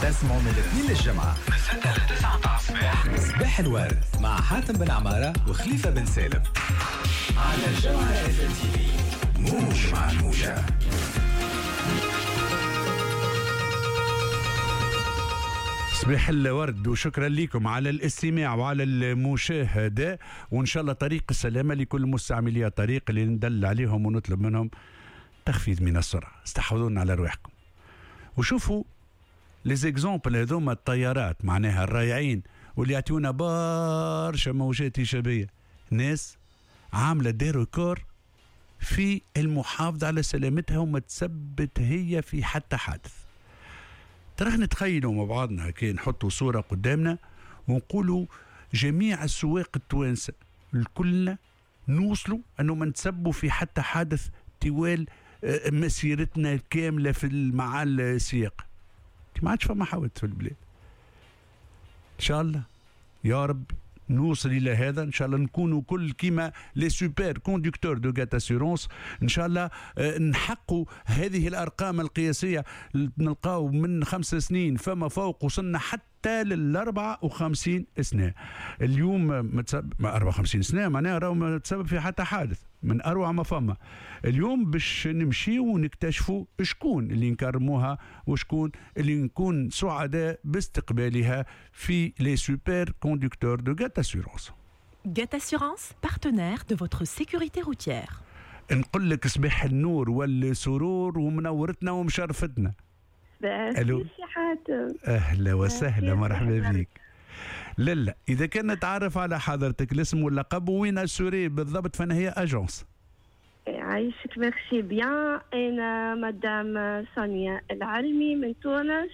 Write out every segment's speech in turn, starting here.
تسمعوا من الاثنين للجمعة من 6 ل 9 متاع الصباح، صباح الورد مع حاتم بن عمارة وخليفة بن سالم على الجوهرة اف تي في، موج مع الموجة. صباح الورد وشكرا لكم على الاستماع وعلى المشاهدة، وإن شاء الله طريق السلامة لكل مستعملي الطريق اللي ندل عليهم ونطلب منهم تخفيض من السرعة. استحوذونا على رواحكم وشوفوا les exemples هذوما الطيارات معناها الرايعين واللي يعطيونا برشا موجات إيجابية، ناس عاملة des records في المحافظة على سلامتها وما تثبت هي في حتى حادث. تراه نتخيلوا مع بعضنا كي نحطوا صورة قدامنا ونقولوا جميع السواق التوانسة الكلنا نوصلوا أنه ما نتسبوا في حتى حادث طوال مسيرتنا الكاملة في مع السياق. ما عادش فما حوادث في البلاد. إن شاء الله يا رب نوصل الى هذا، ان شاء الله نكونوا كل كيما les super conducteurs de GAT Assurances، ان شاء الله نحققوا هذه الارقام القياسية، نلقاو من 5 سنين فما فوق وصلنا حتى لل 54 سنة. اليوم 54 سنة معناها راهو ما تسبب في حتى حادث، من اروع ما فما. اليوم باش نمشيو ونكتشفوا شكون اللي نكرموها وشكون اللي نكون سعداء باستقبالها في les super conducteurs de GAT Assurances. GAT Assurances, partenaire de votre sécurité routière. نقول لك صباح النور والسرور ومنورتنا ومشرفتنا. الو اهلا وسهلا، مرحبا بك. لالا اذا كان نتعرف على حضرتك الاسم واللقب وين assurée بالضبط فانا هي agence. عايشك merci bien. انا مدام سونيا العلمي من تونس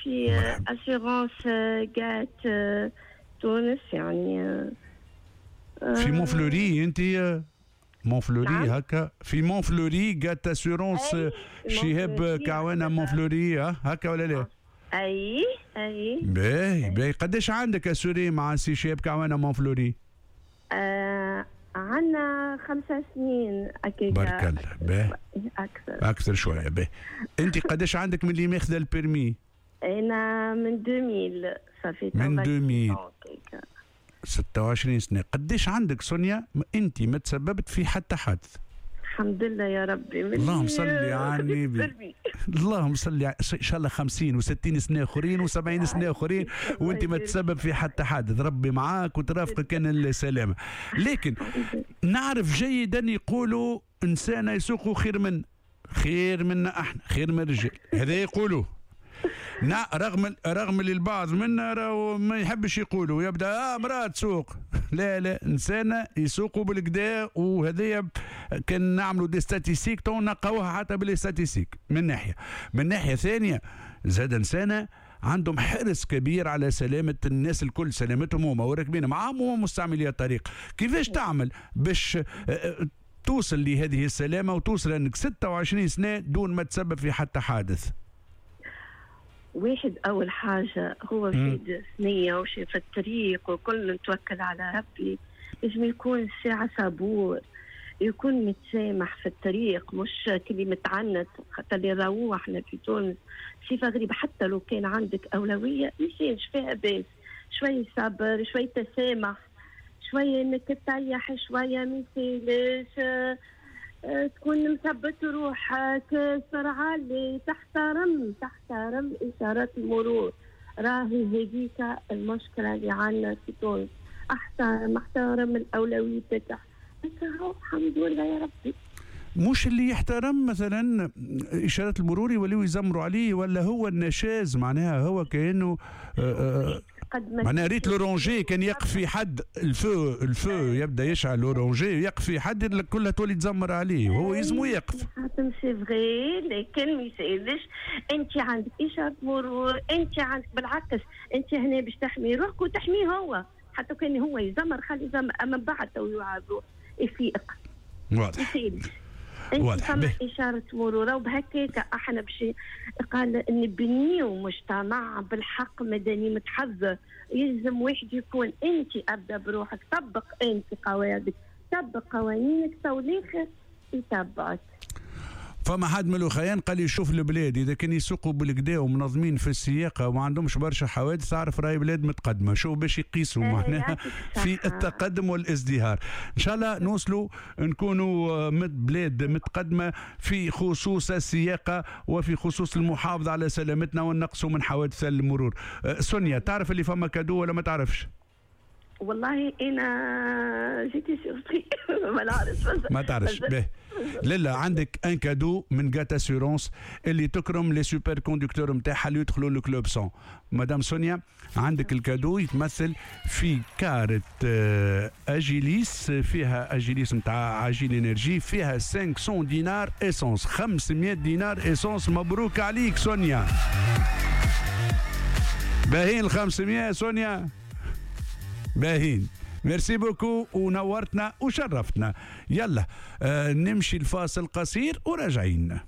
في assurance GAT تونس، يعني في مونفلوري. انت مونفلوري؟ نعم. هكا في مونفلوري GAT Assurances شهاب كعوانه مونفلوري، هكا ولا لا؟ اي اي. باهي باهي. قداش عندك assurée مع سي شهاب كعوانه مونفلوري؟ عندنا 5 سنين اكيد. بارك الله. باهي اكثر شوية. باهي. انت قداش عندك من اللي ماخذه ال permis؟ انا من 2000 صافي. من 2000 26 سنة. قداش عندك سونيا انت ما تسببت في حتى حادث؟ الحمد لله يا ربي. اللهم صل على النبي. اللهم صل، ان شاء الله 50 و60 سنة اخرين و70 سنة اخرين وانت ما تسبب في حتى حادث، ربي معاك وترافقك كان السلامة. لكن نعرف جيدا يقولوا انسان يسوق خير من خير منا احنا، خير من الرجال، هذا يقولوه. رغم اللي البعض منا راهو ما يحبش يقولوا، يبدا امراة تسوق. لا لا، انسانه يسوقوا بالكدا، وهذايا كان نعملوا des statistiques تو نلقاوها حتى بال statistiques من ناحية. من ناحية ثانية زاد انسانه عندهم حرص كبير على سلامه الناس الكل، سلامتهم هما وراكبين معاهم ومستعملي الطريق. كيفاش تعمل باش توصل لهذه السلامة وتوصل انك 26 سنة دون ما تسبب في حتى حادث؟ واحد أول حاجة هو في ثنية وشي في الطريق وكل نتوكل على ربي، لازم يكون ساعة صبور، يكون متسامح في الطريق، مش كلي متعنت. خاطر اللي راهو احنا في تونس صفة غريبة، حتى لو كان عندك أولوية ميسالش فيها باس، شوية صبر، شوية تسامح، شوية انك تريح شوية ميسالش، تكون مثبت روحك، سرعة اللي تحترم إشارات المرور. راهي هذيك المشكلة اللي عندنا في تونس. احترم الأولوية تاعك، الحمد لله يا ربي. مش اللي يحترم مثلا إشارات المرور يوليو يزمروا عليه، ولا هو النشاز معناها هو كأنه معناها ريت l'orangé كان يقف في حد ال feu يبدا يشعل l'orangé يقف في حد كلها تولي تزمر عليه وهو يلزمو يقف. حاتم c'est vrai، لكن ما يسالش. انت عندك اشارة مرور، انت عندك بالعكس، انت هنا باش تحمي روحك وتحميه هو، حتى كان هو يزمر خلي يزمر، اما بعد تو يعاد يفيق. واضح. انت فما اشارة مرور، وبهكاك احنا باش قال نبنيو مجتمع بالحق مدني متحضر. يلزم واحد يكون انت ابدا بروحك، طبق انت قواعدك، طبق قوانينك، تو الاخر يتبعك. فما حد من الاخيان قال لي شوف البلاد اذا كان يسوقوا بالقدا ومنظمين في السياقه وما عندهمش برشا حوادث، تعرف راهي بلاد متقدمه. شوف باش يقيسوا معناها يعطيك في الصحة. التقدم والازدهار. ان شاء الله نوصلوا نكونوا بلاد متقدمة في خصوص السياقه وفي خصوص المحافظة على سلامتنا ونقصوا من حوادث المرور. سونيا، تعرف اللي فما cadeau ولا ما تعرفش؟ والله انا j'étais surprise، ما نعرفش. ما تعرفش. باهي، لالا، عندك un cadeau من GAT Assurances اللي تكرم les super conducteurs نتاعها اللي يدخلوا ال club 100. مدام سونيا، عندك ال cadeau يتمثل في كارت Agilis، فيها Agilis نتاع Agil Énergie، فيها 500 دينار essence، 500 دينار essence. مبروك عليك سونيا. باهين ال 500 سونيا؟ باهين. merci beaucoup ونورتنا وشرفتنا. يلا نمشي الفاصل قصير وراجعين.